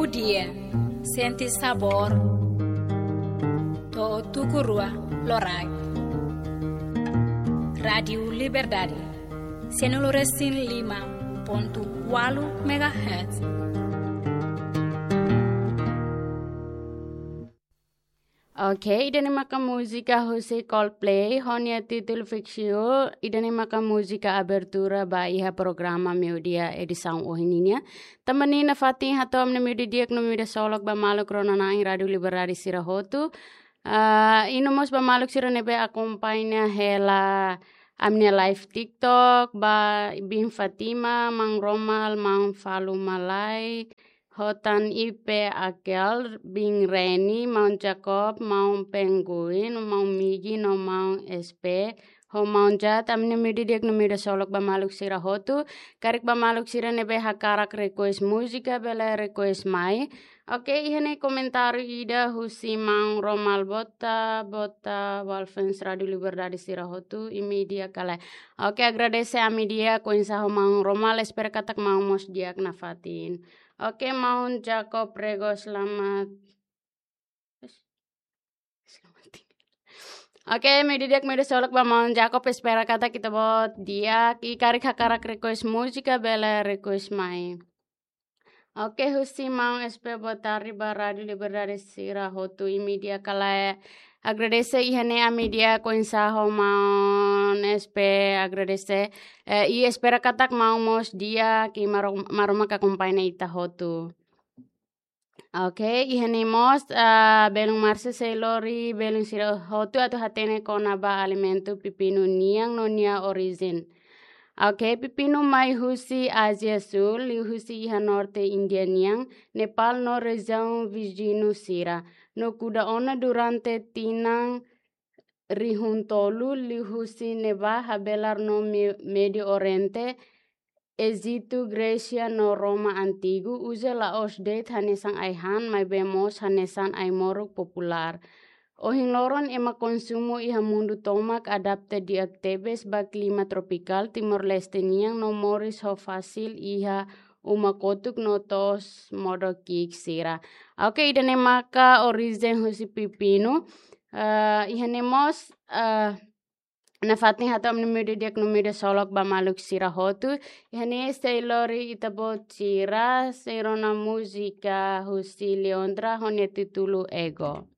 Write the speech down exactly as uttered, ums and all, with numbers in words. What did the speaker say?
Dia, sente sabór, to'o tuku rua loraik. Rádiu Liberdade, sianulu resin lima pontu ualu megahertz. Oke, ida-ne'e maka múzika husi Coldplay, ho nia títulu Fix You, ida-ne'e maka múzika abertura ba iha programa Meiudia edisaun ohin nian. Tanba ne'e nafatin hato'o ami-nia Meiudia Di'ak no Meiudia Solok ba maluk rona-na'in Rádiu Liberdade sira hotu. Ah, i no mós ba maluk sira ne'ebé akompaña hela ami-nia live TikTok, ba Bin Fatima, Maun Romal, Maun Falu Malai, ho tan Ipe Akel, Bin Reni, Maun Jacob, Maun Pengguin, Maun Migi, no Maun S P, ho Maun Jat, ami-nia Meiudia Di'ak no Meiudia Solok ba maluk sira hotu, karik ba maluk sira ne'ebé hakarak request múzika, bele request mai. Oke, iha ne'e komentáriu ida husi Maun Romal Bota, Bota, Walfens Rádiu Liberdade sira hotu, imi di'ak ka lae. Oke, agradese ami di'ak, oinsá ho Maun Romal, espera katak Maun mós di'ak nafatin. Oke, Maun Jacob Rego, selamat. Selamat tinggal. Oke, Meiudia Di'ak, Meiudia Solok ba Maun Jacob, espera katak ita-boot di'ak, i karik hakarak request múzika, bele request mai. Oke, husi Maun S P, boa tarde ba Rádiu Liberdade sira hotu, imi di'ak ka lae. Agradese, iha ne'e ami di'ak, oinsá ho Maun S P, agradese. Eh, i espera katak Maun mós di'ak, i Maromak, Maromak akompaña ita hotu. Oke, iha ne'e mós, ah, belun Marcia, sei lori belun sira hotu atu hatene kona-ba alimentu pepinu nian no nia orijen. Oke, pepinu mai husi Ázia Súl, liuhusi iha norte Índia nian, Nepal no rejiaun viziñu sira. No kuda ona durante tinan rihun tolu, liuhusi ne'ebá habelar no Me-, Médiu Oriente, Ejitu, Grésia no Roma antigu, uza la'ós de'it hanesan ai-han, maibé mós hanesan ai-moruk populár. Ohin loron ema konsumu iha mundu tomak adapta di'ak tebes ba klima tropikál Timor-Leste nian no moris ho fasil iha uma kotuk no to'os modo ki'ik sira. Oke, ida-ne'e maka orijen husi pepinu. Eh, iha ne'e mós, eh, nafatin hato'o ami-nia Meiudia Di'ak no Meiudia Solok ba maluk sira hotu. Iha ne'e sei lori ita-boot sira, sei rona múzika husi Leondra ho nia títulu Ego.